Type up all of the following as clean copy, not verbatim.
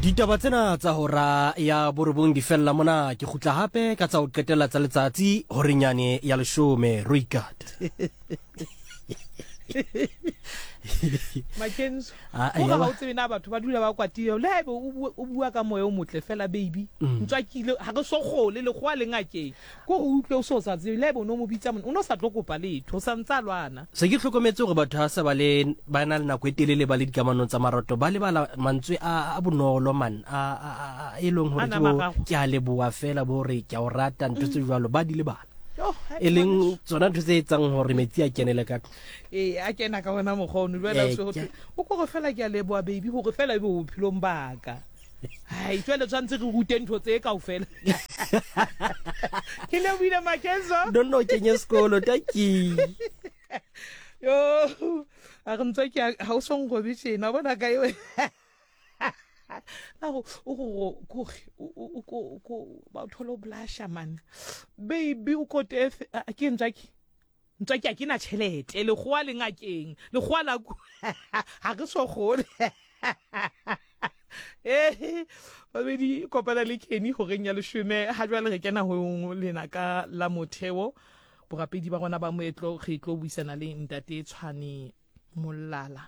Ditaba tsena tsa hora ya borobong di fella mona. Ke kgutla hape ka tsa ho qetela tsa letsatsi horeng yane ya leshome. Roikat. Makenzo, Ah, o ya ga ba- o tsebe na batho ba dula ba kwatile le haebe o bua- o bua ka moya o motle fela baby ntswa ke ile ga re so gole lekgowa le ngakeng ko go utlwe o se o sa tsebe le haebe o ne o mo bitsa mone o ne o sa tlo kopa letho o sa ntse a lwana Se ke hlokometse gore batho ha se ba le ba na le nako e telele ba le dikamanong tsa marato ba lebala mantswe a a bonolo man a a a a- e leng A gore ke nama bo gago. ke a leboa fela bo re ke a o rata ntho tse jwalo ba di lebala Yo, hai, e leng tsona ntho tse etsang gore metsi a kenele ka tlung ee a kena ka ona mokgwa ono jwale Eh, o se ho ke- thwe, o kore fela ke a leboa baby gore fela e be bophelong baka hai jwale tshwanetse re rute ntho tse kaofela ke lebohile makenzo don't know kenye sekolo taki yo a re ntswa ke ga o so nrobe tjena wa bona ka eo na go o go kore o ko ko ba o thole o blasha man baby o kote ke ntswa ke ntswa ke a ke na tšhelete lekgowa le ngakeng lekgowa la ku ga re so gole ee babedi kopana le Kenny horeng ya leshome ga jwale re kena ho lena ka la motheo borapedi ba rona ba moetlo re tlo buisana le ntate Tshwane Molala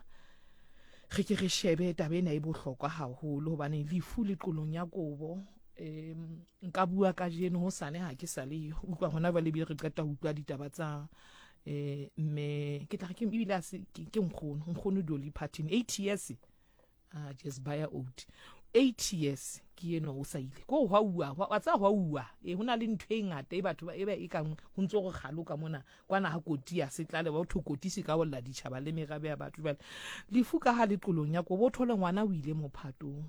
re ke re shebe taba ena e bohlokwa haholo hobane lefu le qolong ya kobo um nka bua kajeno hosane ha ke sa le yo utlwa hona jwale ebile re qeta ho utlwa ditaba tsa um mme ke tla re ke ebile a se ke ke nkgono nkgono Dolly Parton 8 years ah just buy out 8 years ke eno o sa ile ko hwa uwa wa tsa hwa uwa e hona le ntho e ngata e batho ba e ba e kang ho ntse go galoka mona kwana ha koti ya se tlale ba thwe koti se ka olla ditjhaba le merabe ya batho jwale lefu ka ha le qolong ya kobo thole ngwana o ile mophatong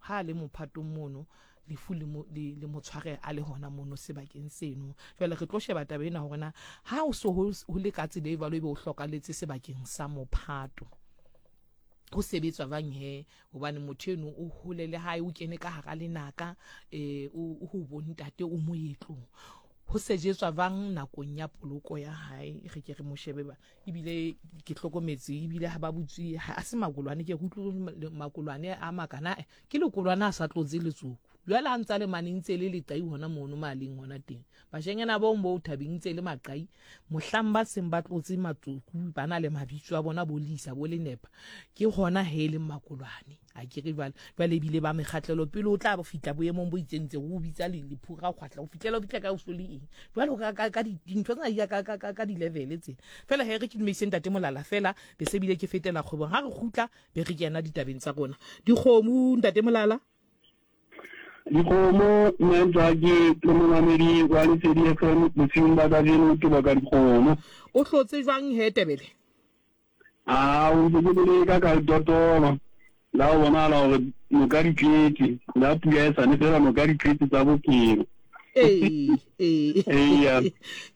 ha a le mophatong mono lefu le mo, le, le mo tshware a le hona mono sebakeng seno jwale re tlo sheba taba ena hore na ha o so ho ho le ka tsela e jwalo ebe o hlokaletse sebakeng sa mophato ho sebetswa jwang he hobane motho eno o hole le hae o kene ka hara lenaka eh o ho bontate o moetlong ho sejetswa jwang nakong ya poloko ya hae re ke re mo shebe ba ebile ke hlokometse ebile ha ba butse ha se makolwane ke utlwe makolwane a makana ke lekolwane a sa tlotse letsoku jwale ha ntse a le mane ntse le leqai hona mono maleng hona teng bashanyana bong bo thabeng ntse le maqai mohlang ba seng ba tlotse matsoku ba na le mabitso a bona bo lisa bo lenepa ke hona he e leng makolwane A ke re jwale, jwale ebile ba mekgatlelo pele o tla fihla boemong bo itseng tse o bitsa lephura kgwahla o fihlela o fihla ka o so le eng jwale ka ka ka dintho tsena di ya ka ka ka di-level tsena fela he re ke dumedise ntate Molala fela be se bile ke fetela kgwebong ha re kgutla be re kena ditabeng tsa rona dikgomo ntate Molala. Dikgomo mme Ntswaki le momamedi wa Lesedi FM bosiung ba kajeno ke baka dikgomo. O hlotse jwang he Tebele? A o ntse ke leka ka dotolo la go bonagala gore noka di tletse, la pula e sane fela noka di tletse tsa bophelo. Ee, ee. Eya.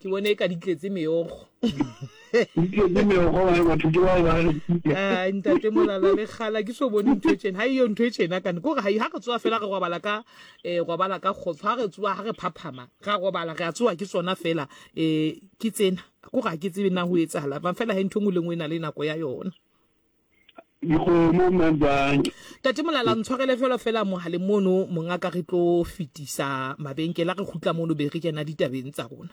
Ke bone e ka di tletse meokgo. Di tletse meokgo bane batho ke bao ba re. Ah, ntate Molala le kgala ke so bone ntho e tjena. Ha eyo ntho e tjena kane. Ke hore ha ha re tsoha fela re robala ka eh robala ka kgotso. Ha re tsoha ha re phaphama, ra robala re a tsoha ke tsona fela eh ke tsena. Ko ga ke tsebe na ho etsahala jwang fela he ntho e nngwe le nngwe e na le nako ya yona. Dikgomo mmantsane. Tate Molala ntshwarele fela fela mohaleng mono mongaka re tlo fetisa mabenkele a re kgutla mono be re kena ditabeng tsa rona.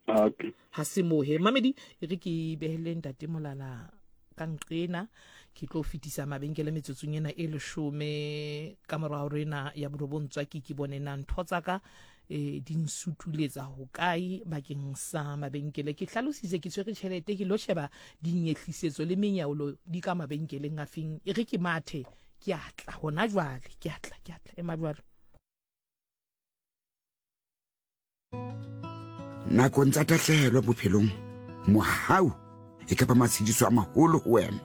Okay. Ha se moo he mamedi e re ke behele ntate Molala ka nqena ke tlo fetisa mabenkele metsotsong ena e leshome ka mora hore ena ya borobong tswaki ke bone na ntho tsa ka e di nsutuletsa hokae bakeng sa mabenkele ke hlalositse ke tshwere tjhelete ke lo sheba dinyehlisetso le menyaolo di ka mabenkeleng a feng e re ke mathe ke a tla hona jwale ke a tla ke a tla ema jwalo. Nakong tsa tahlehelo bophelong, mohau e ka ba matshediso a maholo ho wena.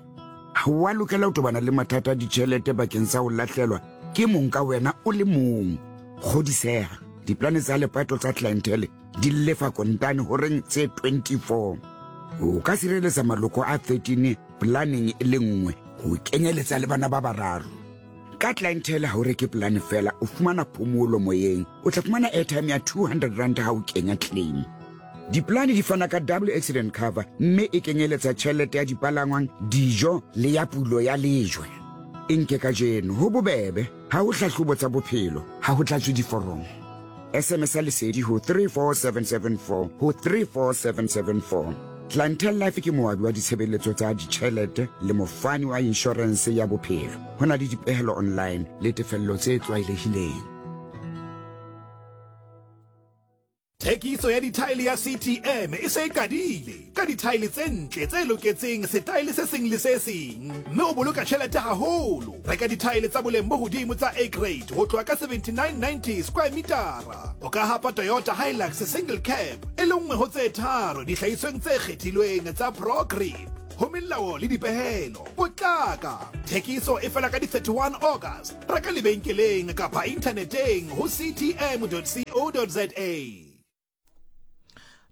Ha o a lokela ho tobana le mathata a ditjhelete bakeng sa ho lahlelwa ke mong ka wena o le mong. Kgodiseha, diplane tsa lepato tsa Clientele di lefa kontane horeng tse 24. O ka sireletsa maloko a 13 planeng e le nngwe ho kenyeletsa le bana ba bararo. Ka Clientele ha o reke polane fela, o fumana phomolo moyeng. O tla fumana airtime ya 200 rand ha o kenya claim. Dipolane di fana ka double accident cover mme e kenyeletsa tjhelete ya dipalangwang, dijo le ya pulo ya lejwe. E nke kajeno, ho bobebe. Ha ho hlahlobo tsa bophelo, ha ho tlatswe diforomo. SMS-a Lesedi ho 34774 ho 34774. Clientele Life ke moabi wa ditshebeletso tsa ditjhelete le mofani wa inshorense ya bophelo. Ho na le dipehelo online le tefello tse tlwaelehileng. Thekiso ya dithaele ya CTM e se e qadile, ka dithaele tse ntle tse loketseng setaele se seng le se seng, mme o boloka tjhelete haholo. Reka dithaele tsa boleng bo hodimo tsa A grade ho tloha ka 79.90 square metara. O ka hapa Toyota Hilux single cab e le nngwe ho tse tharo dihlahisweng tse kgethilweng tsa ProGrip. Ho melao le dipehelo, potlaka! Thekiso e fela ka di 31 August. Reka lebenkeleng kapa inthaneteng ho ctm.co.za.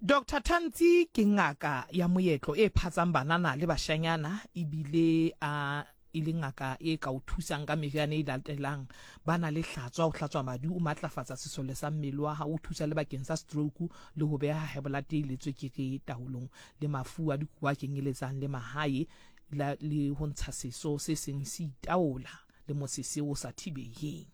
Doctor Thantsi ke ngaka ya moetlo e phatsang banana le bashanyana ebile a e le ngaka e ka o thusang ka meriana e latelang. Ba na le hlatswa, o hlatswa madi, o matlafatsa sesole sa mmele wa hao, o thusa le bakeng sa stroke le ho beha high blood le tswekere taolong le mafu a dikobo a kenyeletsang le mahae le ho ntsha seso se seng se itaola. le mosese o sa thibeheng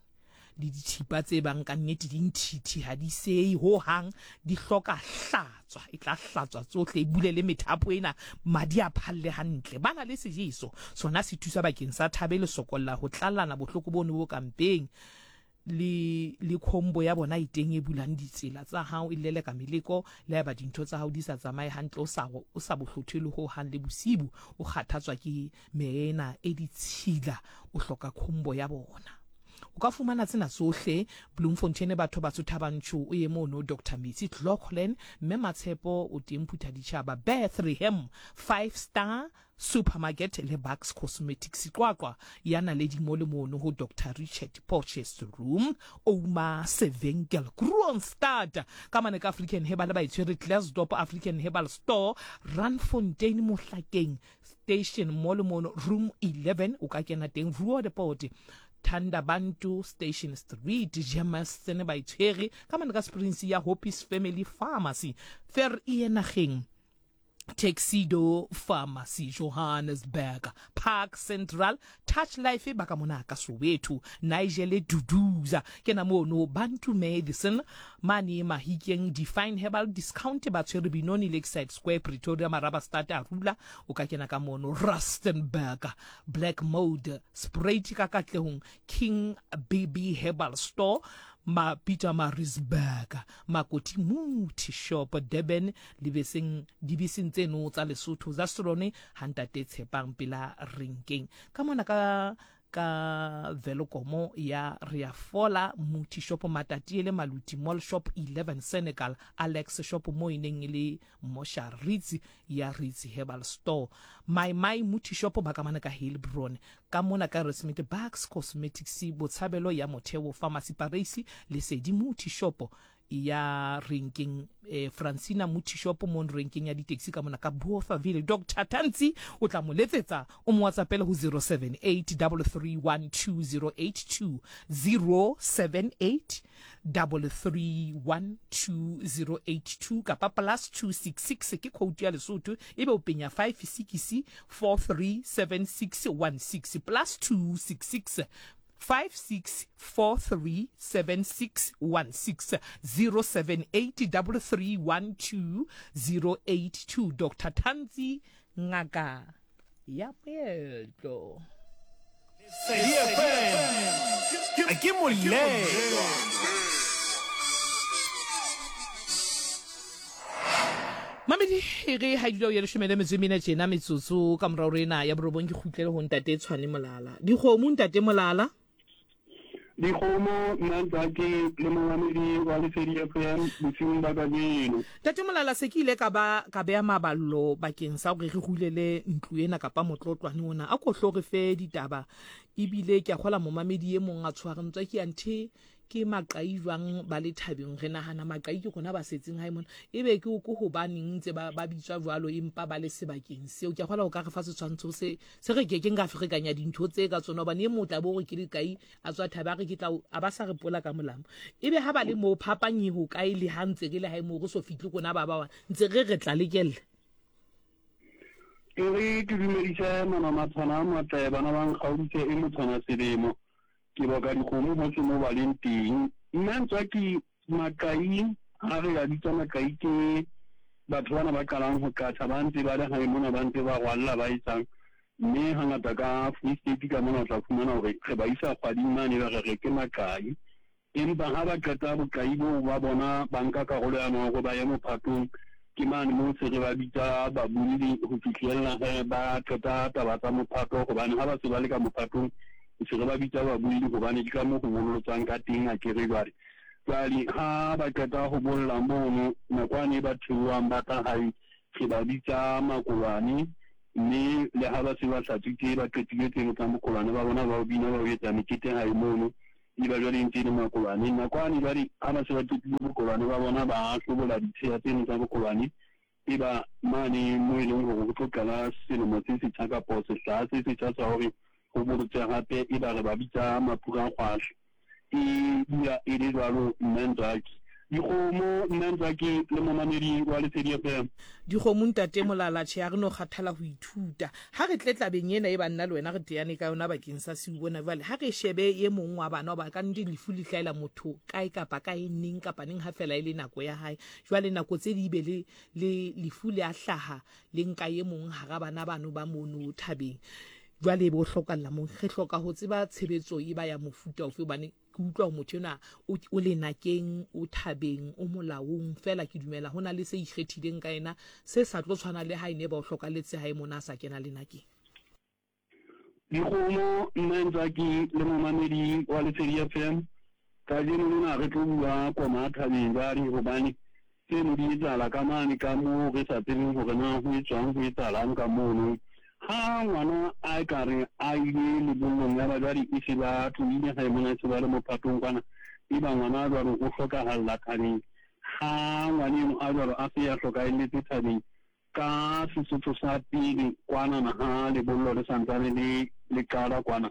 le dithipa tse bang ka nnete di nthithi ha di seyi ho hang, di hloka hlatswa, e tla hlatswa tsohle, e bule le methapo ena, madi a phalle hantle. Ba na le sejeso, sona se thusa bakeng sa thabe le sokolla ho tlallana bohloko bono bo ka mpeng, le le khombo ya bona e teng e bulang ditsela tsa hao, e leleka meleko, le haeba dintho tsa hao di sa tsamaye hantle, o sa o sa bohlothe le ho hang le bosibu, o kgathatswa ke meya ena e ditshila, o hloka khombo ya bona. O ka fumana tsena tsohle Bloemfontein, batho batsho Thaba Nchu, o ye mono Doctor Metsi Cloughlin, Mme Matshepo o teng Phuthaditjhaba, Bethlehem, Five Star Supermarket le Bucks Cosmetics Qwaqwa ya Naledi mo le mono ho Doctor Richard Potchefstroom, Ouma Sevenkel, Kroonstad ka mane ka African Herbal ba e tshwere Klerksdorp African Herbal Store, Randfontein Mohlakeng Station mo le mono Room 11 o ka kena teng Roodepoort Thandabantu Station Street Germiston ba e tshwere ka mane ka Springs ya Hoppies Family Pharmacy Ver e nageng Tuxedo Pharmacy Johannesburg Park Central Touch Life ba ka mona ka Soweto Nigel Duduza ke na mono Bantu Medicine mane Mahikeng Define Herbal Discount ba tshwere Benoni Lakeside Square Pretoria Marabastad Arula o ka kena ka mono Rustenburg Black Mode Spruit ka Katlehong King BB Herbal Store ma Pietermaritzburg Makoti Muthi Shop Durban Libeseng, dibeseng tseno tsa Lesotho Zastrone ha ntate Tshepang pela renkeng ka mona ka ka Velokomo ya Reafola Muthi Shop Matatiele Maluti Mall Shop 11 Senegal Alex Shop mo e neng e le Mosha Ritz ya Ritz Herbal Store My My Muthi Shop ba ka mane ka Heilbron ka mona ka Resmit Bucks Cosmetics Botshabelo ya Motheo Pharmacy Pareisi Lesedi Muthi Shop ya renkeng eh, Francina Muthi Shop mo renkeng ya ditaxi ka mona ka Bothaville. Dr Tantsi o tla mo letsetsa o mo WhatsAppele ho 078 3312082 078 3312082 kapa plus 266 ke khoutu ya Lesotho ebe o penya 56 437616 plus 266 56437616 0783312082 Dr Tantsi ngaka ya moetlo. Lesedi FM ke molelwa. Mamedi e re ha dula o ya leshome le metso e mene tjena metsotso ka morao re ena ya borobong ke kgutlele ho ntate Tshwane Molala. Dikgomo ntate Molala. Dikgomo nna ntate le momamedi wa Lesedi FM bosiung ba kajeno. Ntate Molala se ke ile ka ba ka beha maballo bakeng sa hore re hulele ntlo ena kapa motlotlwane ona. A ko hlo re fe ditaba ebile ke a kgola momamedi e mong a tshware ntswa ke ya nthe Ke maqai jwang ba le thabeng? Re nahana maqai ke rona ba setseng hae mona. Ebe ke ke hobaneng ntse ba, ba bitswa jwalo empa ba le sebakeng seo? Ke a kgolwa o ka re fa setshwantsho se, se re kekeng ra ferekanya dintho tse ka tsona hobane e mong o tla bo re ke leqai a tswa thabe a re ke tla a ba sa re pola ka molamo. Ebe ha ba le moo phapang e hokae le ha ntse re le hae moo re so fihle rona ba ba ntse re re tla lekella? E re ke dumedise manamathwana a matle bana ba nkgaoditse e motshwana selemo. Ke boka dikgomo hohle mo ba leng teng. Nna Ntswaki Maqai, ha re a bitsa Maqai ke batho bana ba qalang ho qatjha ba ntse ba le hae mona ba ntse ba rwalla ba etsang. Mme hangata ka Free State ka mona o tla fumana hore re ba isa kgwading mane ba re re ke Maqai. Empa ha ba qeta boqai boo ba bona ba nka karolo ya hore ba ye mophatong, ke mane moo se re ba bitsa babolli ho fihlella he ba qeta taba tsa mophato, hobane ha ba se ba le ka mophatong se re ba bitsa babolli hobane ke ka moo ho bollotswang ka teng akere jwale. Jwale ha ba qeta ho bolla mono, nakwane e ba theohang ba tla hae re ba bitsa makolwane, mme le ha ba se ba hlatswitse ba qetile tseno tsa mokolwane ba bona ba o bina ba o etsa mekete hae mono, E ba jwale e ntse e le makolwane. Nakwane jwale ha ba se ba qetile bokolwane ba bona, ba hlobola ditsheya tseno tsa bokolwane. E ba mane moo e leng hore ho tlo qala selemo se setjha kapo sehla se setjha sa hore ho bolotswe hape, e ba re ba bitsa maphurakgwahla. E dula e le jwalo, Mme Ntswaki. Dikgomo, Mme Ntswaki le momamedi wa Lesedi FM. Dikgomo Ntate Molala, tjhe ha re no kgathala ho ithuta. Ha re tle tlabeng ena e bang nna le wena re teane ka yona bakeng sa siu bona jwale, ha re shebe e mong wa bana, hoba ka nnete lefu le hlahela motho kae kapa kae, neng kapa neng ha fela e le nako ya hae. Jwale nako tse di be le, le lefu le a hlaha le nka e mong hara bana bano ba mono thabeng. Jwale e be o hlokalla moo. Re hloka ho tseba tshebetso e ba ya mofuta ofe, hobane ke utlwa hore motho enwa o, o lenakeng, o thabeng, o molaong, feela ke dumela ho na le se ikgethileng ka yena se sa tlo tshwana le ha e ne ba o hlokaletse hae mona a sa kena lenakeng. Dikgomo, Mme Ntswaki le momamedi wa Lesedi FM, kajeno lena re tlo bua koma thabeng jwale hobane Tseno di etsahala ka mane ka moo re sa tsebeng hore na ho etswang, ho etsahalang ka mono. Ha ngwana a ka re a ile lebollong yaba jwale e se ba tlohile hae mona, e se ba le mophatong kwana, eba ngwana a jwalo o hlokahalla thabeng. Ha ngwana eno a jwalo a se a hlokahelletse thabeng, ka Sesotho sa pele kwanana ha lebollo le sa ntsane le le qala kwana,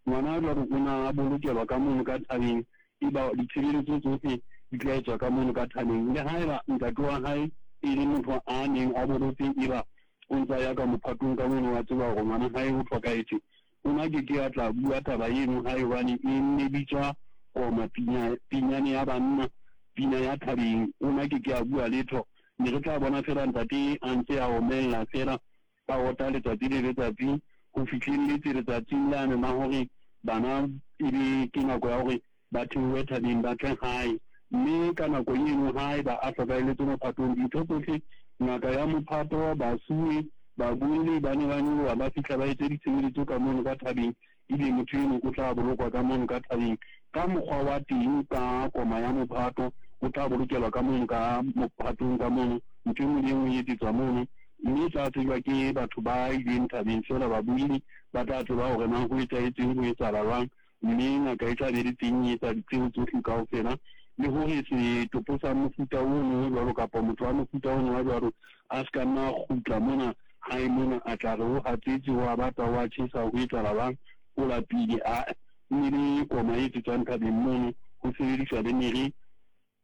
Ngwana jwalo o na a bolokelwa ka mono ka thabeng, eba ditshebeletso tsohle di tla etswa ka mono ka thabeng. Le haeba ntate wa hae e le motho a neng a bolotse, eba o ntsa ya ka mophatong ka mono, wa tseba hore ngwana hae o hlokahetse, o na ke ke a tla bua taba eno hae, hobane e ne bitswa koma, pina, pinyane ya banna, pina ya thabeng. O na ke ke a bua letho. Ne re tla bona feela ntate a ntse a omella feela. Ba ota letsatsi le letsatsi ho fihlelletse letsatsing lane la hore bana e be ke nako ya hore ba theohe thabeng ba tle hae. Mme ka nako eno haeba a hlokahelletse mophatong, dintho tsohle, ngaka ya mophato, basuwe, babuelli ba ne ba nyoloha ba fihla ba etse ditshebeletso ka mono ka thabeng. Ebe motho eno o tla bolokwa ka mono ka thabeng ka mokgwa wa teng, ka koma ya mophato, o tla bolokelwa ka mono ka mophatong ka mono, ntho e nngwe le e nngwe e etsetswa mono, mme e tla tsejwa ke batho ba ileng thabeng feela, babuelli ba tla tseba hore na ho etsahetseng, ho etsahala jwang, mme ngaka e tla be le teng e etsa ditseo tsohle kaofela, le hore setopo sa mofuta ono o jwalo kapa motho wa mofuta ono wa jwalo a se ka nna a kgutla mona Hae mona a tla re o hatsetse, o a bata, o a tjhesa, ho etsahala jwang? O lapile. Ae, ho ne le koma e etsetswang thabeng mono, ho sebediswa le mere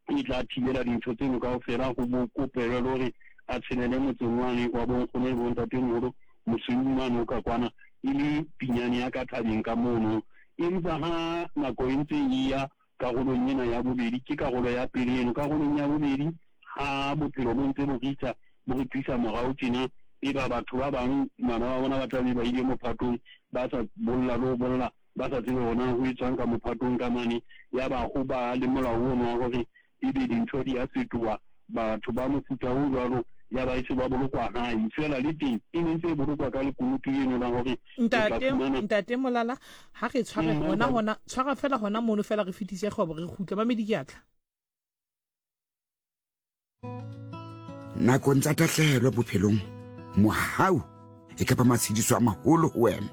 e tla thibela dintho tseno kaofela, ho bo kopelwe le hore a tshelele motseng wane wa bonkgono le bontatemoholo mosweu mane o ka kwana, e le pinyane ya ka thabeng ka mono. Empa ha nako e ntse e ya, Karolong ena ya bobedi, ke karolo ya pele eno, karolong ya bobedi, ha bophelo bo ntse bo ritsa, bo re tlisa morao tjena, eba batho ba bang bana ba bona ba tla be ba ile mophatong, ba sa bolla le ho bolla, ba sa tsebe hore na ho etswang ka mophatong ka mane, yaba ho ba le molao ono wa hore ebe dintho di a fetoha, batho ba mofuta o jwalo yaba e se ba bolokwa hae. Feela le teng e ne ntse e bolokwa ka lekunutu leno la hore o tla Ntate, fumana Ntate Molala, ha re tshware hona hona, tshwara fela hona mono fela re fetise kgwebo re kgutle. Mamedi ke a tla. Nakong tsa tahlehelo bophelong, mohau e ka ba matshediso a maholo ho wena.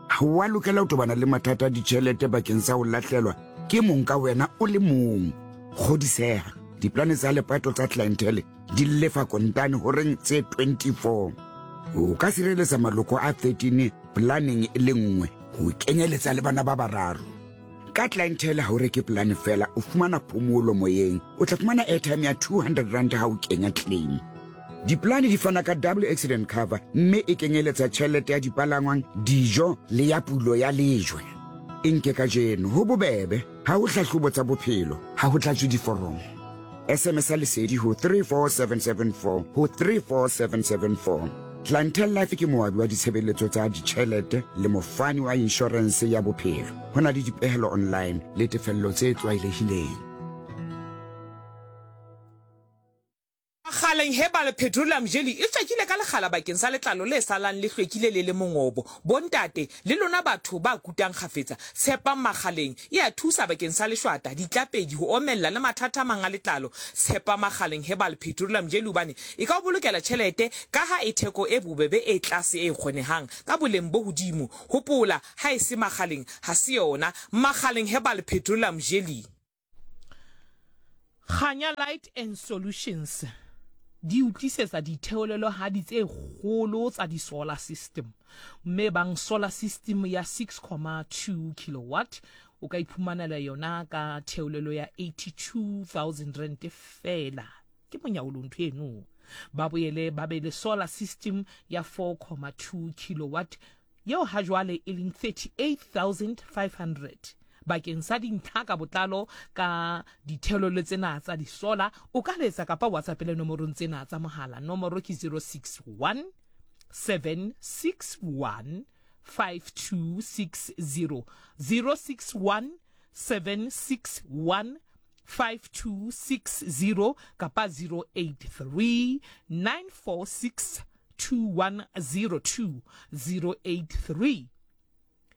Ha wa lokela ho tobana le mathata a ditjhelete bakeng sa ho lahlelwa ke mong ka wena o le mong. Kgodiseha, diplane tsa lepato tsa Clientele di lefa kontane horeng tse 24. O ka sireletsa maloko a 13 planeng e le nngwe ho kenyeletsa le bana ba bararo. Ka Clientele ha o reke polane fela, o fumana phomolo moyeng. O tla fumana airtime ya 200 rand ha o kenya claim. Dipolane di fana ka double accident cover mme e kenyeletsa tjhelete ya dipalangwang, dijo le ya pulo ya lejwe. E nke kajeno, ho bobebe, ha ho hlahlobo tsa bophelo, ha ho tlatswe diforomo. SMS-a Lesedi ho 34774 ho 34774. Clientele Life ke moabi wa ditshebeletso tsa ditjhelete le mofani wa inshorense ya bophelo. Ho na le dipehelo online le tefello tse tlwaelehileng. Kgaleng Herbal Petroleum Jelly e tswakile ka lekgala bakeng sa letlalo le salang le hlwekile le le mongobo. Bontate, le lona batho ba kutang kgafetsa, tshepang Makgaleng. E a thusa bakeng sa leshwata, ditlapedi, ho omella le mathata a mang a letlalo. Tshepa Makgaleng Herbal Petroleum Jelly hobane e ka o bolokela tjhelete kaha e theko e bobebe e tlase e kgonehang ka boleng bo hodimo. Hopola, ha e se Makgaleng, ha se yona. Makgaleng Herbal Petroleum Jelly. Kganya Light and Solutions di o tlisetsa ditheolelohadi tse kgolo tsa di-solar system, mme bang solar system ya 6,2 kilowatt o ka iphumanela yona ka theolelo ya 82,000 rand feela. Ke monyaolo ntho eno. Ba boele ba be le solar system ya 4,2 kilowatt yeo ha jwale e leng 38,500. Bakeng sa dintlha ka botlalo ka dithelolo tsena tsa disola, o ka letsa kapa WhatsAppele nomorong tsena tsa mohala. Nomoro ke 061 761 5260, 061 761 5260 kapa 083 946 2102, 083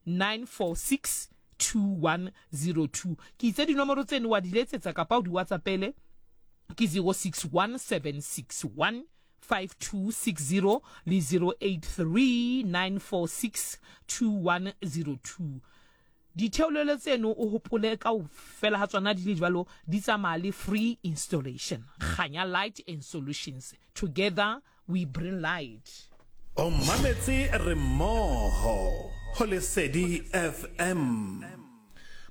946 2102. Ke itse dinomoro tseno wa di letsetsa kapa o di whatsappele ke 061 761 5260 le 083 946 2102. Ditheolelo tseno o hopole kaofela ha tsona di le jwalo di tsamaya le free installation. Kganya Light and Solutions, together we bring light. O mametse re mmoho ho Lesedi FM.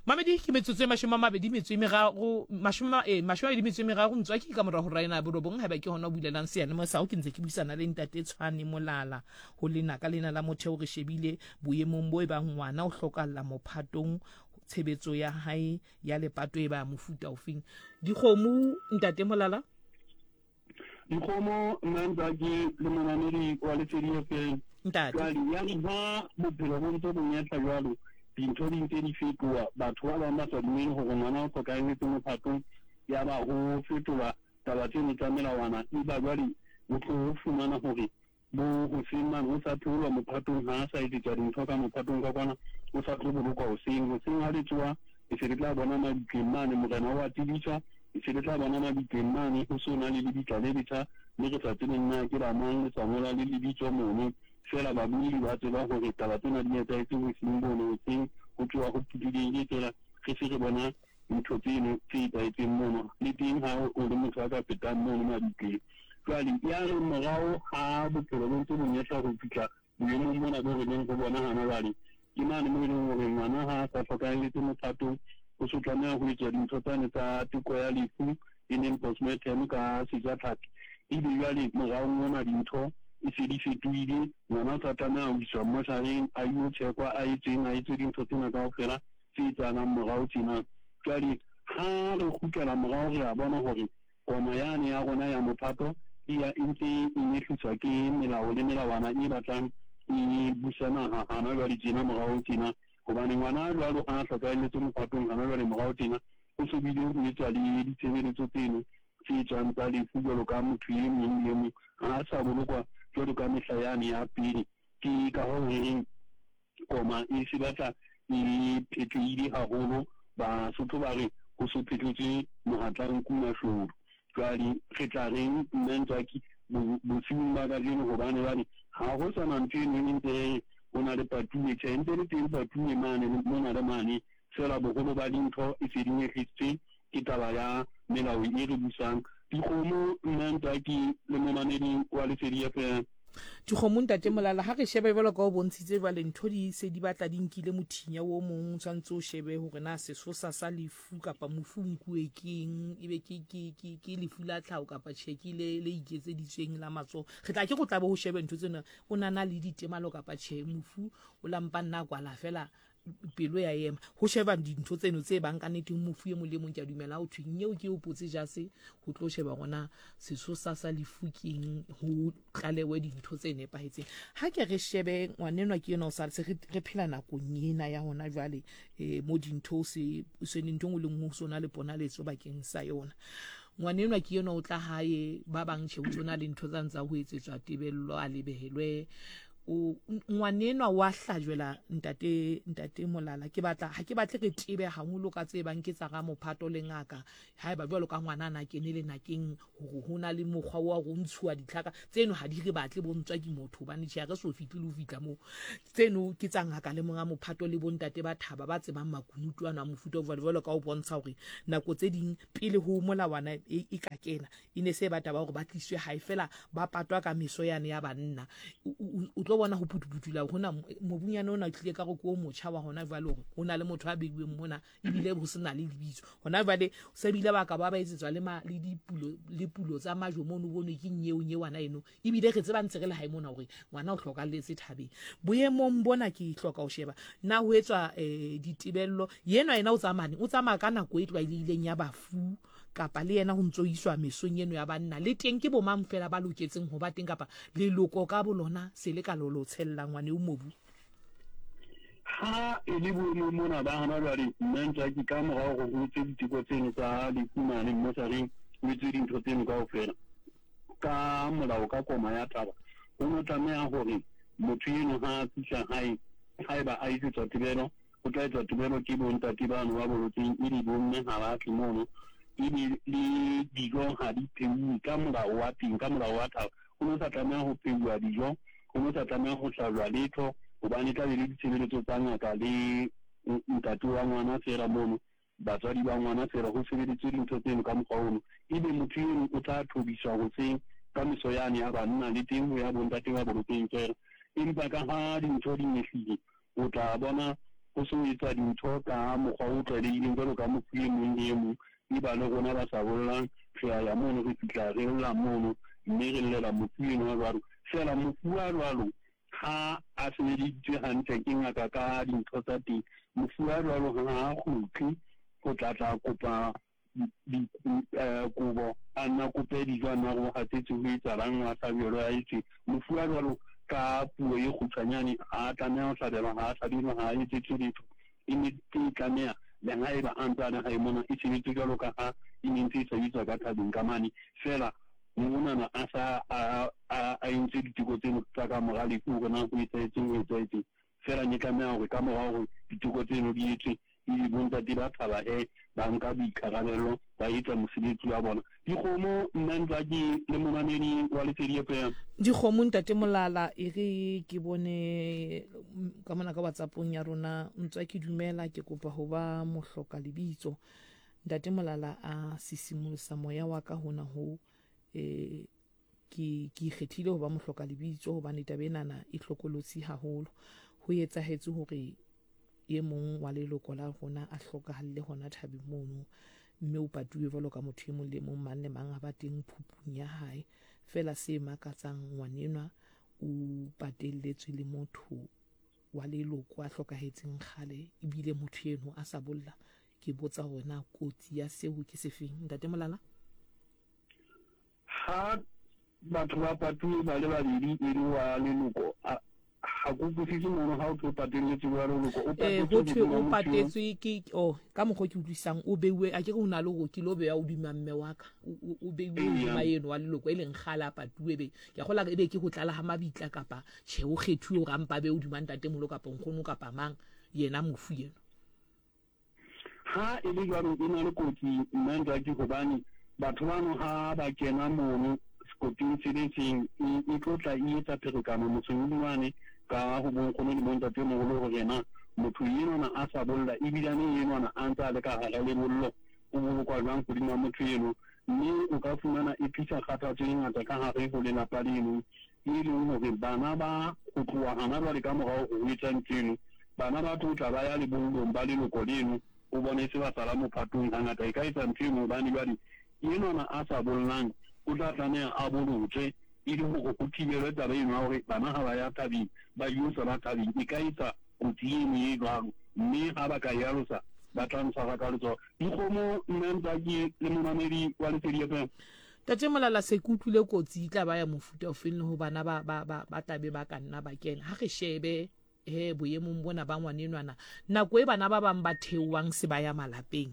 Mamedi ke metsotso e mashome a mabedi metso e meraro mashome eh, mashome a mabedi metso e meraro ntswaki ka mora hora ena ya borobong haeba ke hona o bulelang seyalemoya sa hao ke ntse ke buisana le ntate Tshwane Molala Ho lenaka lena la motheo re shebile boemong bo ebang ngwana o hlokahalla mophatong, tshebetso ya hae ya lepato e ba mofuta ofeng. Dikgomo, Ntate Molala? Dikgomo, nna Ntsaki le monamedi wa Lesedi FM. Ntate. Jwale ya re ha bophelo bo ntse bo nyehla jwalo, dintho di ntse di fetoha, batho ba bang ba sa dumele hore ngwana o hlokahelletse mophatong, ya ba ho fetolwa taba tseno tsa melawana, eba jwale o tlo fumana hore Bo hoseng mane ho sa theolwa mophatong, ha a sa etsetswa dintho ka mophatong ka kwana, o sa tlo bolokwa hoseng. Hoseng ha le tsoha, le se le tla bona mabitleng mane, morena o a tsebiswa, le se le tla bona mabitleng mane ho se ho na le lebitla le letjha, mme re sa tsebeng na ke la mang, le sa ngolwa le lebitso mono. Feela babolli ba tseba hore taba tsena di etsahetse bosiung bono hoseng, ho tsoha ho pudulehile feela, re se re bona ntho tseno tse etsahetseng mono, le teng ha o le motho a ka fetang mono mabitleng. Jwale yare morao ha bophelo bo ntse bo nyehla ho fihla boemong bona bo re leng ho bona hana jwale, ke mane moo e leng hore ngwana ha a sa hlokahelletse mophatong, o so tlameha ho etswa dintho tsane tsa teko ya lefu e leng postmortem ka sejatlhapi. Ebe jwale moraong mona dintho e se di fetohile, ngwana o sa tlameha ho iswa mmoshareng a ilo tjhekwa, a etsweng, a etswe dintho tsena kaofela tse etsahalang morao tjena. Jwale ha re kgutlela morao re a bona hore koma yane ya rona ya mophato e ya e ntse e nyehliswa ke melao le melawana e batlang e busa naha hana jwale tjena morao tjena. Hobane ngwana jwalo ha a hlokahelletse mophatong hana jwale morao tjena, o so bile ho etswa le ditshebeletso tseno tse tswang tsa lefu jwalo ka motho e mong le e mong, ha a sa bolokwa jwalo ka mehla yane ya pele. Ke ka hoo re reng koma e se batla e phetohile haholo. Basotho ba re ho so phethotswe mohatla nku mashodu. Jwale re tla reng nna Ntswaki bosiung ba kajeno, hobane jwale ha ho sa na ntho eno e ntse re re ho na le patuwe. Tjhe, ntse le teng patuwe mane mona le mane, feela boholo ba dintho e se di nyehlisitswe ke taba ya melao e re busang. Dikgomo, nna Ntswaki le momamedi wa Lesedi FM. Dikgomo, Ntate Molala, ha re shebe jwalo ka o bontshitse jwale ntho di se di batla di nkile mothinya o mong, o tshwanetse o shebe hore na sesosa sa lefu kapa mofu o nkuwe keng, ebe ke, ke, ke, ke lefu la tlhaho kapa tjhe ke le, le iketseditsweng la matsoho. Re tla ke go tlabe ho shebe ntho tsena, o na na le ditemalo kapa tjhe, mofu o la mpa nna kwala fela. Pelo ya ema. Ho sheba dintho tseno tse bang ka nnete mofu e mong le mong ke a dumela ho thwe nyeo ke o potse jase ho tlo sheba gona sesosa sa lefu keng ho tlalewe dintho tse nepahetseng. Ha ke re shebe ngwanenwa ke yena o sa se re phela nakong ena ya hona jwale eh, mo dintho se se ntho nngwe le nngwe ho sona le ponaletso bakeng sa yona. Ngwanenwa ke yena o tla hae ba bang tjhe o tsona le ntho tsa ntsa ho etsetswa tebello a lebehelwe o ngwanenwa wa hlajwela ntate ntate Molala ke batla ha ke batle re tebe haholo ka tse bang ke tsa ga mophato le ngaka haeba jwalo ka ngwana na kene le nakeng hore ho na le mokgwa wa go ntshuwa ditlhaka tseno ha di re batle bo ntswa ke motho hobane tjhe re so fihle le ho fihla moo tseno ke tsa ngaka le monga mophato le bontate ba thaba ba tsebang makunutu ana a mofuta o jwalo jwalo ka o bontsha hore nako tse ding pele ho molawana e, e ka kena E ne se ba taba gore ba tliswe gae fela ba patwa ka meso yane ya banna. O tlo bona go putuputula gona mobunyane ona o tlile ka go ke o motšha wa gona jwale gore go na le motho a beiweng mona ebile go se na le lebitso. Gona jwale se bile ba ka ba ba etsetswa le ma le dipulo le pulo tsa majo mono bonwe ke nyeo nyewana eno ebile re tseba ntse re le gae mona gore ngwana o hlokalletse thabeng. Boemong bona ke hloka go sheba na ho etswa eh, ditebello yenwa yena o tsamane o tsamaya ka nako e tlwaelehileng ya bafu kapa le yena ho ntso iswa mesong eno ya banna le teng ke bomang fela ba loketseng ho ba teng kapa leloko ka bolona se le ka lolo tshella ngwane o mobu? Ha e le boemong mona ba hana jwale, nna Ntswaki ka mora hore ho etswe diteko tseno tsa lefu mane mmosareng, ho etswe dintho tseno kaofela ka molao ka koma ya taba, ho no tlameha hore motho eno ha a fihla hae, haeba a etsetswa tebelo, O tla etswa tebelo ke bontate bano ba bolotseng ebe bomme ha ba tle mono, ebe le dijo ha di pheuwe ka molao wa teng, ka molao wa thaba. Ho no sa tlameha ho pheuwa dijo, ho no sa tlameha ho hlajwa letho, hobane e tla be le ditshebeletso tsa ngaka le ntate wa ngwana feela mono, batswadi ba ngwana feela, ho sebeditswe dintho tseno ka mokgwa ono. Ebe motho eno o tla thobiswa hoseng ka meso yane ya banna le teng ho ya bontate ba bolotseng feela. Empa ka ha dintho di nyehlile, O tla bona ho se ho etswa dintho ka mokgwa o tlwaelehileng jwalo ka mofu e mong le e mong. Eba le rona ba sa bollang re a ya mono, re fihla re lla mono mme re llela mofu enwa jwalo. Feela mofu wa jwalo ha a sebeleditswe hantle ke ngaka ka dintho tsa teng, mofu wa jwalo ha a kgutle ho tla tla kopa kobo, a nna kope dijo, a nna re o hatsetse ho etsahalang, wa hlabelwa a etswe. Mofu wa jwalo ka puo e kgutshwanyane ha a tlameha ho hlabelwa, ha a hlabelwe, ha a etsetswe letho. E ne e tlameha le haeba a ntse a le hae mona e sebetse jwalo ka ha e ne ntse e sebetswa ka thabeng ka mane. Feela monana a sa a a entse diteko tseno tsa ka mora lefu hore na ho etsahetseng ho etsahetseng. Feela ne tlameha hore ka mora hore diteko tseno di etswe Ebe bontate ba thaba he ba nka boikarabello ba etsa mosebetsi wa bona. Dikgomo nna Ntswaki le momamedi wa Lesedi FM. Dikgomo ntate Molala e re ke bone ka mona ka WhatsAppong ya rona Ntswaki dumela ke kopa ho ba mohloka lebitso. Ntate Molala a sisimolosa moya wa ka hona ho eh ke ke ikgethile ho ba mohloka lebitso hobane taba enana e hlokolotsi haholo. Ho etsahetse hore e mong wa leloko la rona a hlokahalle hona thabeng mono, mme o patuwe jwalo ka motho e mong le mong, mang le mang a ba teng phupung ya hae. Feela se makatsang, ngwanenwa o patelletswe le motho wa leloko a hlokahetseng kgale, ebile motho eno a sa bolla. Ke botsa hore na kotsi ya seo ke sefeng, Ntate Molala? Ha batho ba patuwe ba le babedi e le wa leloko, ha ke utlwisise mono ha o thwe o patelletswe le wa leloko, o Eh, patetswe ho thwe hodima o motho eo. patetswe ke oh ka mokgwa o ke utlwisisang o beiwe a ke re o na le hore ke lo bewa hodima mme wa ka o o- o beiwe hodima Eya. eno wa leloko e leng kgale a patuwe be ke a kgola e be ke ho tlala ha mabitla kapa tjhe o kgethuwe hore a mpa be hodima ntatemoholo kapa nkgono kapa mang yena mofu eno. Ha e le jwalo e na le kotsi nna Ntswaki hobane batho bano ha ba kena mono sekoting se le seng e, e tlo tla e etsa pherekano motseng wane ka ho bonkgono le bontatemoholo hore na motho enwana a sa bolla ebilane enwana a ntse a le ka hara lebollo o bolokwa jwang hodima motho eno mme o ka fumana e tlisa kgathatso e ngata ka hare ho lelapa leno e leng hore bana ba ho tloha hana jwale ka morao ho etsa ntho eno, bana ba tlo tla ba ya lebollong ba leloko leno, o bone se ba sala mophatong. Hangata e ka etsa ntho eno hobane jwale enwana a sa bollang o tla tlameha a bolotswe e le hore ho thibelwe taba eno ya hore bana ha ba ya thabeng ba yo sala thabeng. E ka etsa kotsi eno e jwalo. Mme ha ba ka e alosa, ba tla ntshwara ka letsoho. Dikgomo, nna Ntsaki le momamedi wa Lesedi FM. Tate Molala se ke utlwile kotsi e tla ba ya mofuta ofeng le ho bana ba ba ba ba tla be ba ka nna ba kena. Ha re shebe he boemong bona ba ngwanenwana nako e bana ba bang ba theoang se ba ya malapeng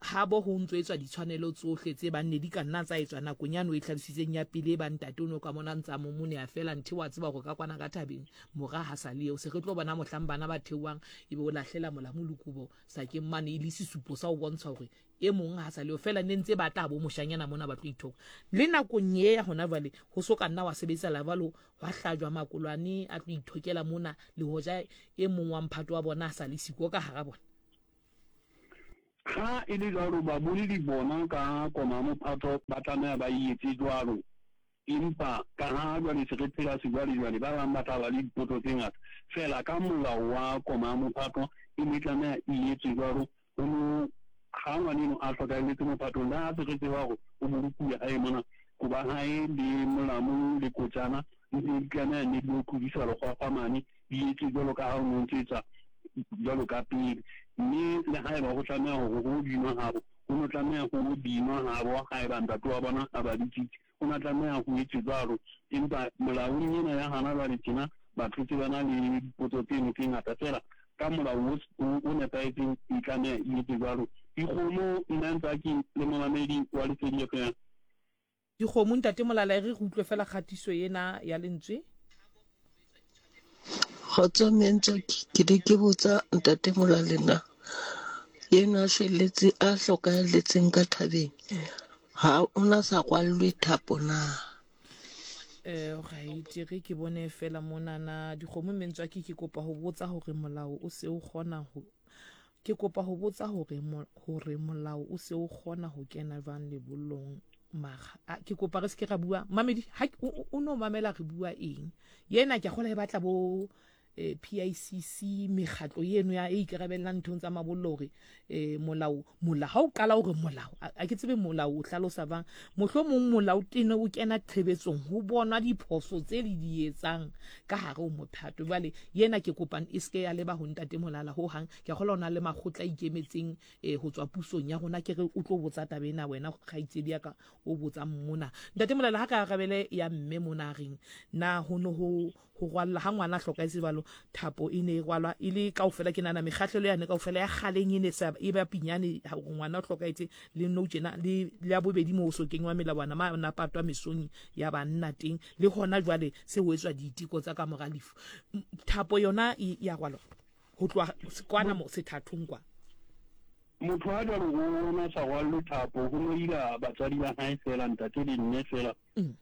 habo ho ntso etswa ditshwanelo tsohle tse bang ne di ka nna tsa etswa nakong yane o e hlalositseng ya pele e bang ntate o ne o ka mona ntsa momone a fela nthe wa tseba hore ka kwana ka thabeng mora ha sa le eo se re tlo bona mohlang bana ba theoang ebe o lahlela molamu le kobo sakeng mane e le sesupo sa ho bontsha hore e mong ha sa le eo fela ne ntse ba tla bo moshanyana mona ba tlo ithoka le nakong ye ya hona jwale ho so ka nna wa sebetsa la jwalo hwa hlajwa makolwane a tlo ithokela mona le hoja e mong wa mphato wa bona a sa le siko ka hara bona. Ha e le jwalo, baboleli bona ka koma ya mophato ba tlameha ba e etse jwalo. Empa kaha jwale se re phela sejwalejwale, ba bang ba tla ba le dipotso tse ngata. Feela ka molao wa koma ya mophato e ne e tlameha e etswe jwalo. Ho no ha ngwaneno a hlokahelletse mophatong, le ha se re tseba hore o bolokuwe hae mona, koba hae le molamu le kotjana di ne di tlameha nne di yo tlodiswa lekgwakgwa mane, di etswe jwalo ka ha o ne o ntse etsa jwalo ka pele. Mme le haeba ho tlameha hore ho binwa habo, ho no tlameha ho binwa habo haeba ntate wa bona a ba bitsitse, ho na tlameha ho etswe jwalo. Empa molaong ena ya hana jwale tjena, batho se ba na le dipotso tseno tse ngata. Feela ka molao o, o nepahetseng e tlameha e etswe jwalo. Dikgomo, nna Ntsaki le momamedi wa Lesedi FM. Dikgomo, Ntate Molala, e re re utlwe fela kgatiso ena ya lentswe. Kgotso mme Ntswaki, ke ne ke botsa Ntate Molale na yena a shwelletse a hlokahalletseng ka thabeng ha o na sa rwallwe thapo na? Eh, right, re ke bone fela monana dikgomo mme Ntswaki ke kopa ho botsa hore molao o se o kgona ho Ke kopa ho botsa hore hore molao o se o kgona ho kena jwang lebollong mara a, ke kopa re se ke ra bua mamedi ha o no mamela re bua eng yena ke a kgola e batla bo eh, PICC mekgatlo eno ya e ikarabellang nthong tsa mabollo hore eh, molao molao ha o qala hore molao a ke tsebe molao o hlalosa bang mohlomong molao tene o kena tshebetsong ho bonwa diphoso tse le di etsang ka hare ho mophato jwale yena ke kopang e seke ya leba ho ntate Molala ho hang ke a kgolwa o na le makgotla a ikemetseng eh, ho tswa pusong ya rona ke re o tlo botsa taba ena wena kgaitsedi ya ka o botsang mona ntate Molala ha ka arabele ya mme mona a reng na ho ne ho ho rwalla ha ngwana a hlokahetse jwalo thapo e ne e rwalwa e le kaofela ke nahana mekgahlelo yane kaofela ya kgaleng e ne sa e ba pinyane hore ngwana o hlokahetse le nou tjena le le ya bobedi moo so kenywa melawana ma na patwa mesong ya banna teng le hona jwale se ho etswa diteko tsa ka mora lefu thapo yona e ya rwalwa ho tloha kwana mo sethathong kwa Motho a jwalo o na sa rwallwe thapo, ho no ila batswadi ba hae feela, ntate le mme feela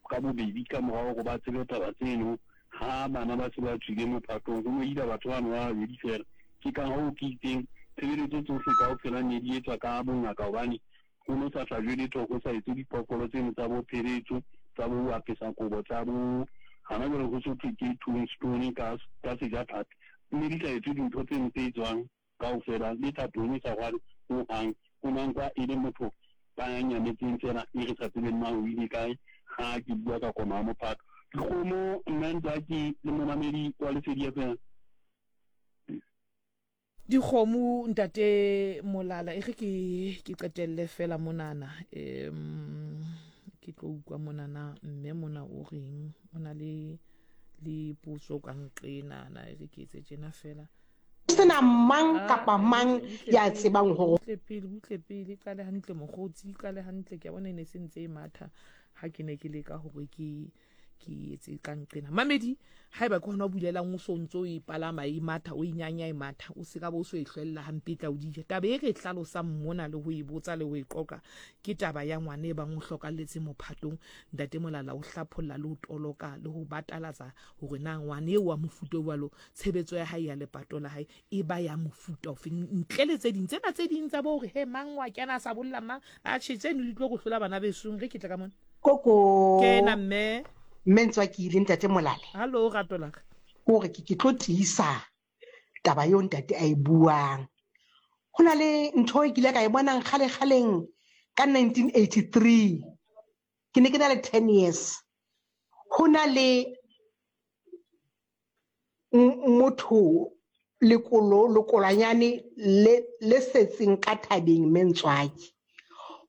ka bobedi ka mora hore ba tsebe taba tseno. Ha bana ba se ba tswile mophatong, ho no ila batho bano ba babedi feela. Ke ka hoo ke itseng tshebeletso tsohle kaofela ne di etswa ka bongaka hobane ho no sa hlajwe letho, ho sa etswe diphoofolo tseno tsa bo pheletso, tsa bo apesa kobo, tsa bo hana jwale ho so thwe ke tombstone ka ka sejatlhapi. Ne di sa etswe dintho tseno tse etswang kaofela, le thapong e sa rwale ho hang. O na nkwa e le motho ba nyametseng feela e re sa tsebeng na o ile kae ha ke bua ka koma ya mophato. Dikgomo, nna Ntsaki le momamedi wa Lesedi FM. Dikgomo ntate Molala e re ke ke qetelle fela monana um ke tlo utlwa monana mme mona o reng o na le le potso ka nqenana e re ke etse tjena fela sena mang ah, kapa mang ya tsebang hore butle pele butle pele qale hantle mokgotsi qale hantle ke a bona e ne se ntse e matha ha ke ne ke leka hore ke ke etse ka nqena mamedi haeba ke hona o bulelang o so ntse o e palama e matha o e nyanya e matha o se ka ba o so e hlwella hampe tla o dija taba e re e hlalosang mona le ho e botsa le ho e qoqa ke taba ya ngwana e bang o hlokalletse mophatong ntate Molala o hlapholla le ho toloka le ho batalatsa hore na ngwana eo wa mofuta o jwalo tshebetso ya hae ya lepato la hae e ba ya mofuta ofe ntle le tse ding tsena tse ding tsa bo hore he mang wa kena a sa bolla mang atjhe tseno di tlo go hlola bana besong re ke tle ka mona Koko. Kena mme. Mme Ntswakile ntate Molale. Hallo rato la ka. Kore ke ke tlo tiisa taba eo ntate a e buang. Ho na le ntho e kile ka e bonang kgale kgaleng ka 1983. Ke ne ke na le 10 years. Ho na le motho lekolo lekolwanyane le le setseng ka thabeng Mentswaki.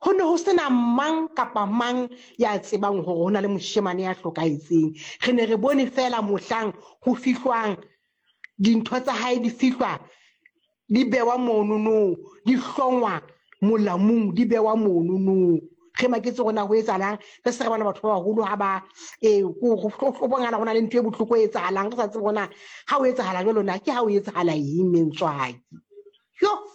Ho ne ho sena mang kapa mang ya tsebang hore ho na le moshemane ya hlokahetseng. Re ne re bone feela mohlang ho fihlwang dintho tsa hae di fihlwa di bewa monono, di hlongwa molamung, di bewa monono. Re maketse hore na ho etsahalang, re se re bona batho ba baholo ha ba ee go bongala go na le ntho e bohloko e etsahalang, re sa tsebe hore na ha o etsahala jwalo na ke ha o etsahala eng Mentswaki. Yo!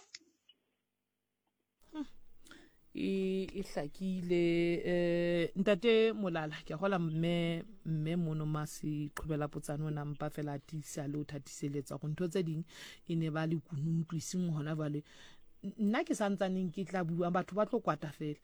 E e hlakile eh ntate Molala ke a gola mme mme mono ma se qhobela potsane ona mpa fela a tiisa le o thatiseletsa go ntho tse ding e ne ba le kunutu e seng hona jwale nna ke santsaneng ke tla bua batho ba tlo kwata fela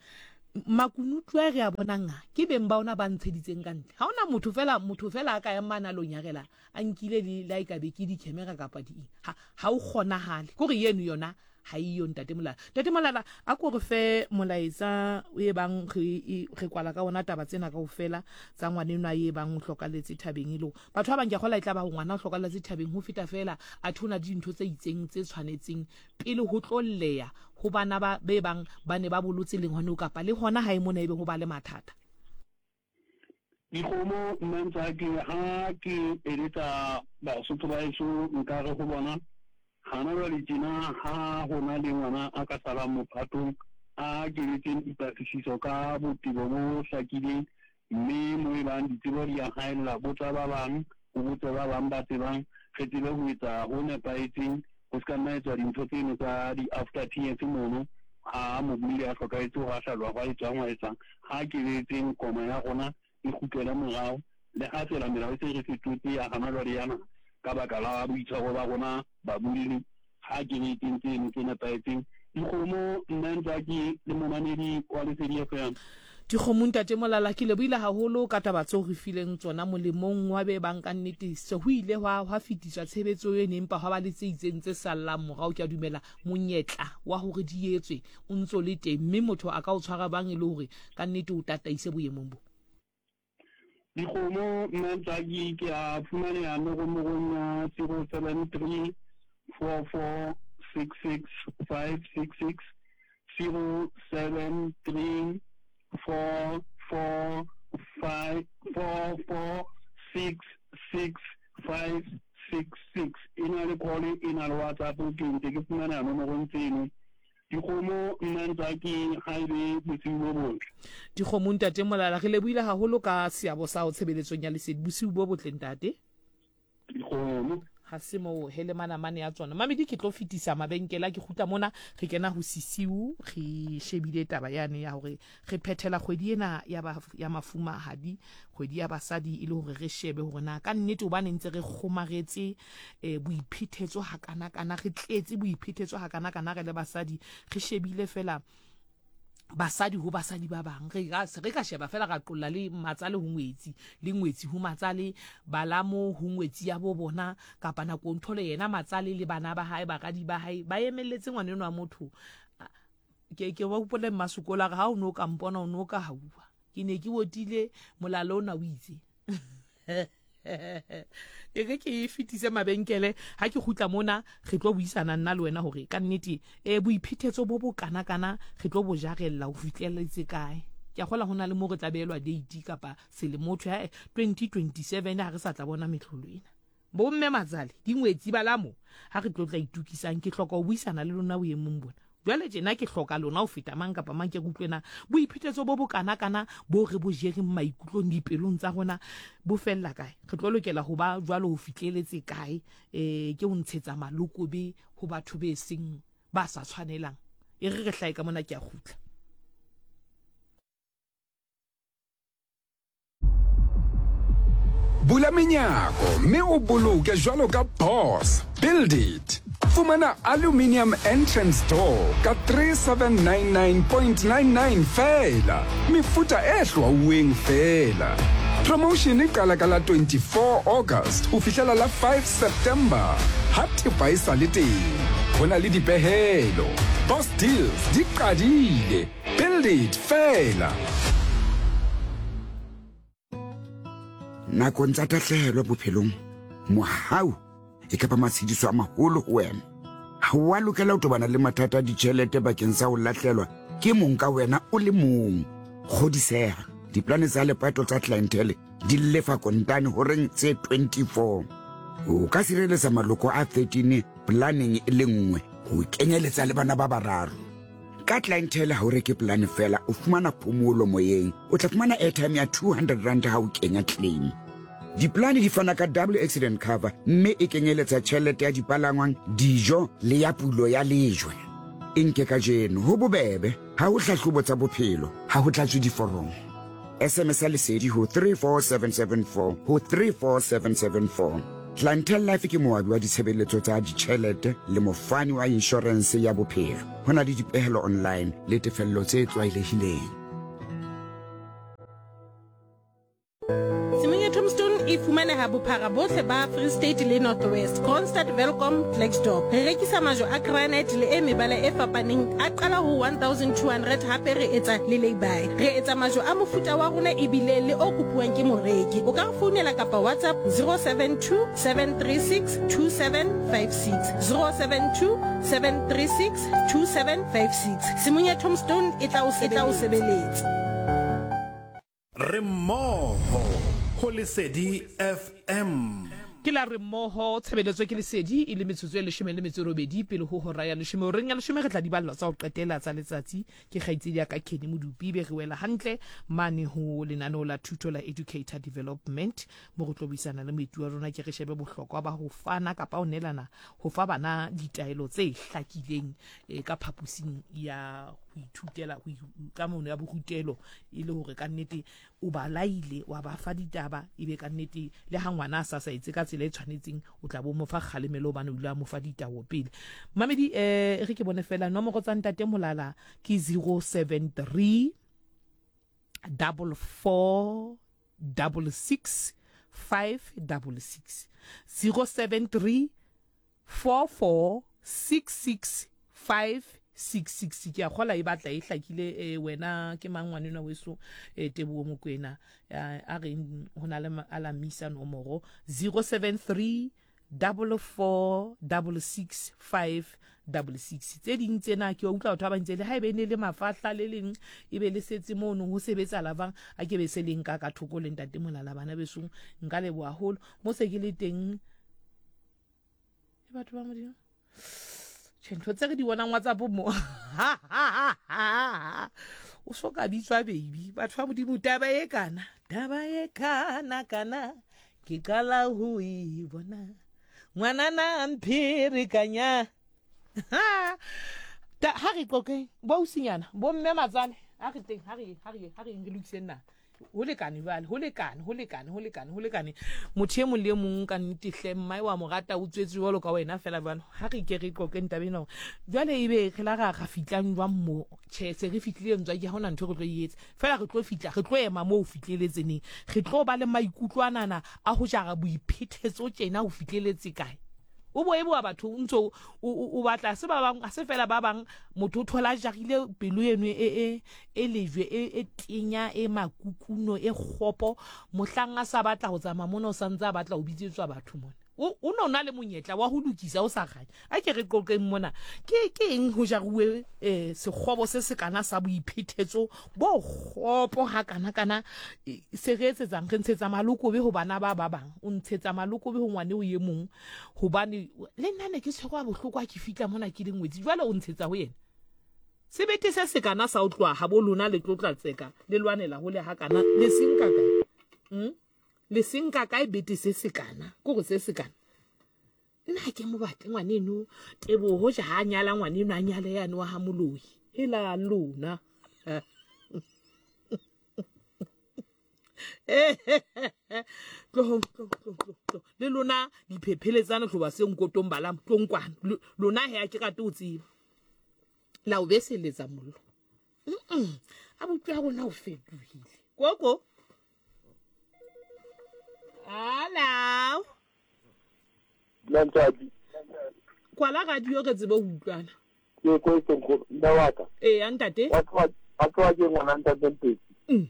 makunutu a re a bonang a ke beng ba ona ba ntsheditseng ka ntle ha ona motho fela motho fela a ka yang mana lo nyarela a nkile le la e ka be ke di-camera kapa di eng ha ha o kgonahale kore yeno yona Ga e yo, Ntate Molala. Ntate Molala, a ko re fe molaetsa o e bang re, re kwala ka ona taba tsena kaofela tsa ngwanenwa e bang o hlokaletse thabeng e le hore batho ba bang ke a kgola e tla ba ngwana o hlokaletse thabeng ho feta fela athe ho na le dintho tse itseng tse tshwanetseng pele ho tlo lleya ho bana ba be bang ba ne ba bolotse le ngwaneo kapa le hona hae mona ebe ho ba le mathata. Dikgomo nna Ntswaki ha ke eletsa Basotho ba heso nka re ho bona, hana jwale tjena ha ho na le ngwana a ka salang mophatong a keletseng dipatlisiso ka botebo bo hlakileng mme mo e bang ditsebo di a haella botsa ba bang o botse ba bang ba tsebang re tsebe ho etsa ho nepahetseng ho se ka nna etswa dintho tseno tsa di-after tears mono ha mobolli a hlokahetse ho a hlalwa hwa etswang hwa etswang ha keletseng koma ya rona e kgutlele morao le ha fela melao e se re fetotse ya hana jwale yana ka baka la boitshwaro ba rona babolli ha keletseng tseno tse nepahetseng dikgomo nna Ntswaki le momamedi wa Lesedi FM. Dikgomo Ntate Molala ke lebohile haholo ka taba tseo re fileng tsona molemong wa be bang ka nnete se ho ile hwa hwa fetiswa tshebetso eno empa hwa ba le tse itseng tse sallang morao ke a dumela monyetla wa hore di etswe o ntso le teng mme motho a ka o tshwara bang e le hore ka nnete o tataise boemong bo. Dikgomo nna Ntswaki ke a fumaneha nomorong ya 073 44 66 566 073 4 4 5 4 4 6 6 5 6 6 e na le call e na le WhatsApp ke ntse ke fumaneha nomorong tseno Dikgomo nna Ntswaki ha e be bosiu bo botle. Dikgomo ntate Molala re lebohile haholo ka seabo sa hao tshebeletsong ya lesedi bosiu bo botle ntate. Dikgomo. Ha se moo he le manamane a tsona. Mamedi ke tlo fetisa mabenkele a ke kgutla mona re kena ho sisiu re shebile taba yane ya hore re phethela kgwedi ena ya ba ya mafumahadi kgwedi ya basadi e le hore re shebe hore na ka nnete hobane ntse re kgomaretse eh, boiphethetso hakana-kana re tletse boiphethetso hakana-kana re le basadi re shebile fela basadi ho basadi ba bang re ka re ka sheba fela ra qolla le matsale ho ngwetsi le ngwetsi ho matsale balamo ho ngwetsi ya bo bona kapa nako nthole yena matsale le bana ba hae baradi ba hae ba emelletse ngwana enwa motho ke ke ba hopole mmasokolo a re ha o ne o ka mpona o ne o ka hauwa ke ne ke otile molala ona o itse e re ke e fetise mabenkele ha ke kgutla mona re tlo buisana nna le wena hore ka nnete um boiphethetso bo bo kana-kana re tlo bo jarella ho fihlelletse kae ke a gola go na le mo re tla beelwa date kapa selemotho ya 2027 ha re sa tla bona metlholo ena Bomme matsale, dingwetsi, balamo, ha re tlo tla itokisang, ke hloka ho buisana le lona boemong bona. Jwale tjena ke hloka lona ho feta mang kapa mang, ke re utlwe na boiphetetso bo bokana-kana bo re bo jereng maikutlong dipelong tsa rona bo fella kae? Re tlo lokela ho ba jwalo ho fihleletse kae? E, ke ho ntshetsa malokobe ho batho be seng ba sa tshwanelang. E re re hlahe ka mona ke a kgutla. Bula menyako mme o boloke jwalo ka boss. Build it. Fumana aluminium entrance door ka 3799.99 feela. Mefuta e hlwauweng feela. Promotion e qala ka la 24 August ho fihlela la 5 September. Ha thepa e sa le teng, ho na le dipehelo. Boss Deals di qadile. Build it feela. Nakong tsa tahlehelo bophelong, mohau e ka ba matshediso a maholo ho wena. Ha o a lokela ho tobana le mathata a ditjhelete bakeng sa ho lahlelwa ke mong ka wena o le mong. Kgodiseha, diplane tsa lepato tsa Clientele di lefa kontane horeng tse 24. O ka sireletsa maloko a 13 planeng e le nngwe ho kenyeletsa le bana ba bararo. Ka Clientele ha o reke polane fela, o fumana phomolo moyeng. O tla fumana airtime ya 200 rand ha o kenya claim. Diplane di fana ka double accident cover mme e kenyeletsa tjhelete ya dipalangwang, dijo le ya pulo ya lejwe. E nke kajeno, ho bobebe, ha ho hlahlobo tsa bophelo, ha ho tlatswe diforomo. SMS ya Lesedi ho 34774 ho 34774. Clientele Life ke moabi wa ditshebeletso tsa ditjhelete le mofani wa inshorense ya bophelo. Ho na le dipehelo online le tefello tse tlwaelehileng. Tshimong ya Tombstone e fumaneha bophara bohle ba Free State le North West, Kroonstad, Welkom, Klerksdorp. Re rekisa majwe a granite le e mebala e fapaneng a qala ho 1200 hape re etsa le lay-by. Re etsa majwe a mofuta wa rona ebile le o kopuwang ke moreki. O ka re founela kapa WhatsApp 072 736 2756, 072 736 2756. Tshimong ya Tombstone e tla o sebeletsa. Re mmoho ho Lesedi FM. Ke la re mmoho tshebeletso ke Lesedi e le metsotso e leshome le metso e robedi pele ho hora ya leshome. Horeng ya leshome re tla di ballwa tsa ho qetela tsa letsatsi ke kgaitsedi ya ka Kenny Modupi be re wela hantle mane ho lenaneo la thuto la Educator Development mo re tlo buisana le moeti wa rona ke re shebe bohlokwa ba ho fana kapa ho neelana ho fa bana ditaelo tse hlakileng eh, ka phaposing ya ho ithutela ka mono ya borutelo e le hore ka nnete o ba laile wa ba fa ditaba e be ka nnete le ha ngwana a sa sa etse ka tsela e tshwanetseng o tla bo mo fa kgalemelo hobane o ile a mo fa ditao pele. Mamedi eh re ke bone fela nomoro tsa ntate Molala ke 073 44 66 566 073 4466566 ke a kgola e batla e hlakile eh, wena ke mang ngwanenwa weso eh, tebogo mokwena eh, a reng go na le a la misa nomoro 073 44 66 566 tse ding tsena ke utlwa batho ba bantse le ha ebe ne le mafahla le leng e be le setse mono ho sebetsa lavang a ke be se leng ka ka thoko le ntate molala bana besong nka leboha haholo mo se ke le teng e batho ba modimo tjhe ntho tse re di bonang whatsapp mo o so ka bitswa baby batho ba modimo taba e kana taba e kana kana ke qala ho e bona ngwanana mpherekanya ha re qoqeng bo usinyana bo mme matsale a re teng ha re ha re ha re re lokiseng na Ho lekane jwale, ho lekane, ho lekane, ho lekane, ho lekane. Motho e mong le e mong ka nnete hle, mmae wa mo rata, o tswetswe jwalo ka wena fela jwalo. Ha re ke re qoqeng taba ena hore jwale ebe re la ra ra fihlang jwang mo? Tjhe, se re fihlile ntswa ke ha hona ntho e re tlo e etsa. Fela re tlo fihla, re tlo ema moo ho fihleletse neng? Re tlo ba le maikutlo anana a ho jara boiphethetso tjena ho fihleletse kae? O bo eboa batho o ntso o batla se ba bang se fela ba bang motho o thola jarile pelo eno e e e lejwe e e tenya e makukuno e kgopo mohlang a sa batla ho tsamaya mona o santse a batla ho bitsetswa batho mona o o no na le monyetla wa ho lokisa o sa kganya a ke re qoqeng mona ke ke eng ho jaruwe eh sekgobo se se kana sa boiphethetso bo kgopo ha kana kana se re etsetsang re ntshetsa malokobe ho bana ba ba bang o ntshetsa malokobe ho ngwane o ye mong hobane le nna ne ke tshwerwa bohloko ha ke fihla mona ke le ngwetsi jwale o ntshetsa ho yena sebete se se kana sa o tloha ha bo lona le tlotla tseka le lwanela hole ha kana le senka kae Le senka kae bete se se kana ko go se se kana nna ha ke mo batle ngwaneno tebogo ja ha nyala ngwaneno a nyale yane wa ha moloi hela lona tlohong tlo le lona diphepheletsane tloba se nkotong balam tlong kwana lona he a ke rate o tseba la o beseletsa mollo a botlo ya rona o fetohile koko Hello. Ntate. Kwala radio re tsebe ho utlwana. Ke ko e nkgono mme wa ka. Ee, ya ntate. Wa tloha ke ngwana ntate Mpetsi. Eh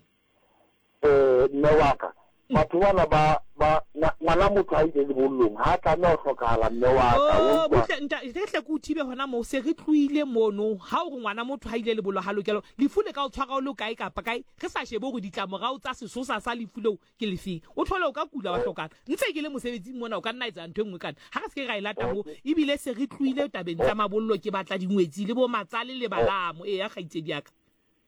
mme wa ka. Batho bana ba ba ngwana motho ha ile lebollong ha tlameha ho hlokahala mme wa ka. Oh, butle nta re hle ke o thibe hona moo se re tlohile mono ha o re ngwana motho ha ile lebollo ha lokela lefu le ka o tshwara o le kae kapa kae re sa shebe hore ditlamorao tsa sesosa sa lefu leo ke lefeng o thole o ka kula wa hlokana ntse ke le mosebetsing mona o ka nna etsa ntho e nngwe kana ha re se ke ra e lata mo ebile se re tlohile tabeng tsa mabollo ke batla dingwetsi le bo matsale le balamo ee ya kgaitsedi ya ka.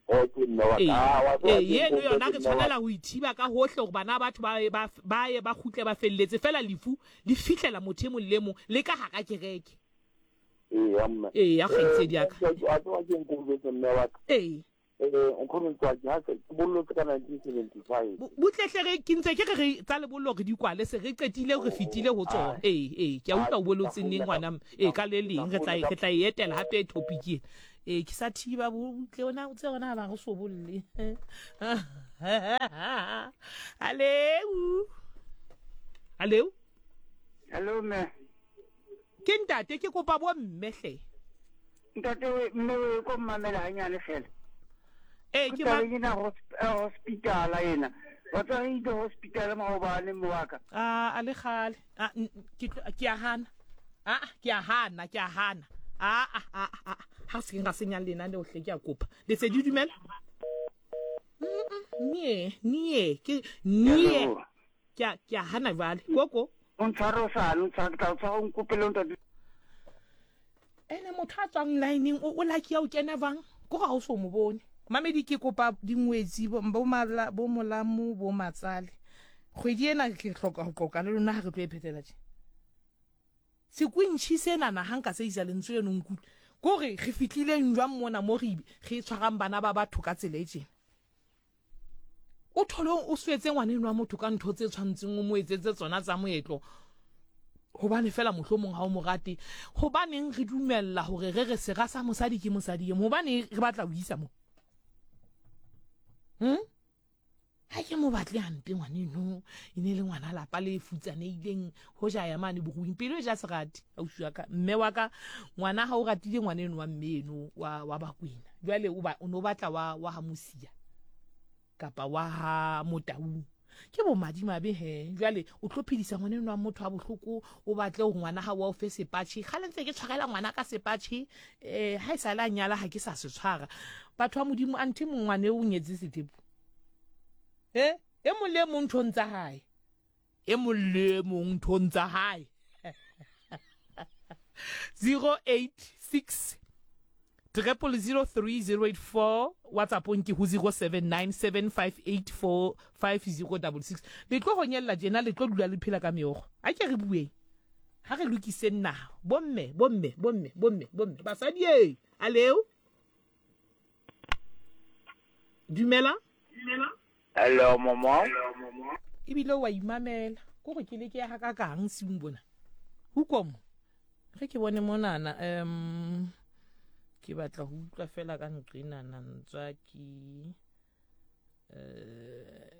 Okay, mme wa ka. Ah, wa tseba Ee, ke eno eng, yona re mme wa tshwanela ho ithiba ka hohle hore bana ba batho ba ye ba, ba ye ba kgutle ba felletse. Feela lefu le fihlela motho e mong le e mong le ka hara kereke. Eya, mme. Eya, Eh, kgaitsedi ya ka. wa tseba ke eng ke o jwetse, mme wa ka? Ee. Eh, nkgono Ntswaki, ha se ke bollotse ka 1975. Butle hle re ke ntse ke re re tsa lebollo re di kwale se re qetile re fetile ho tsona. Ee, ee, ke a utlwa o bolotse neng ngwana mme. Ee, ka le leng re tla re tla e etela hape topic ena. Ee, ke sa thiba butle ona o tse ona ba re so bolle. Aleu. Aleu. Hello mme. Ke ntate ke kopa bo mme hle. Ntate we mme we ko mmamela hanyane fela. Ee ke ma Tabeng ena hospital ena. Wa tswa re ile hospital maobane mme wa ka. A a le kgale. A ke ke a hana. A ke a hana, ke a hana. A a a a ha se ra senya lenaneo hle ke a kopa. Lesedi dumela. Nie, nie, ke nie. Ke a ke a hana jwale. Koko. O ntshware o sa o ntshware ke tla o tshwara o nkopele o ntate. Ene motho a tswang line o o lucky ya o kena jwang? Ko ga o so mo bone. Mamedi ke kopa dingwetsi bo mala bo molamu bo matsale. Kgwedi ena ke hloka ho qoqa le lona ha re tlo e phethela tje. Sekwintšhi senana ha nka se isa lentswe leno nkutlwe. Ko re re fihlileng jwang mona mo re re tshwarang bana ba batho ka tsela e tjena. O thole o swetse ngwaneno wa motho ka ntho tse tshwantseng o mo etsetse tsona tsa moetlo hobane fela mohlomong ha o mo rate. Hobaneng re dumella hore re re sera sa mosadi ke mosadi e mong? Hobane re batla ho isa mo. Ha ke mo batle hampe ngwaneno, e ne le ngwana lapa le futsanehileng hoja ya mane boruing pelo e ja serati ausi wa ka mme wa ka ngwana ha o ratile ngwaneno wa mme eno wa wa Bakwena jwale o ba o no batla wa wa ha Mosia kapa wa ha Motaung ke bo madimabe he jwale o tlo phedisa ngwaneno wa motho wa bohloko o batle hore ngwana ha wa o fe sepatjhe kgale ntse ke tshwarela ngwana ka sepatjhe eh ha e sa le a nyala ha ke sa se tshwara batho ba modimo anthe mongwane o nyetse sethepu e e mong le e mong nthong tsa hae e mong le e mong nthong tsa hae 086 0003084 whatsappong ke ho 0797584506 le tlo honyella tjena le tlo dula le phela ka meokgo a ke re bueng ha re lokiseng naha bomme bomme bomme bomme bomme basadi e aleo Dumela. Hello mama. Ebile wa imamela. Ko go ke le ke ya ka kang siung bona. Hoekom? Ge ke bone monana um ke batla go utlwa fela ka nqenana ntswa ke eh.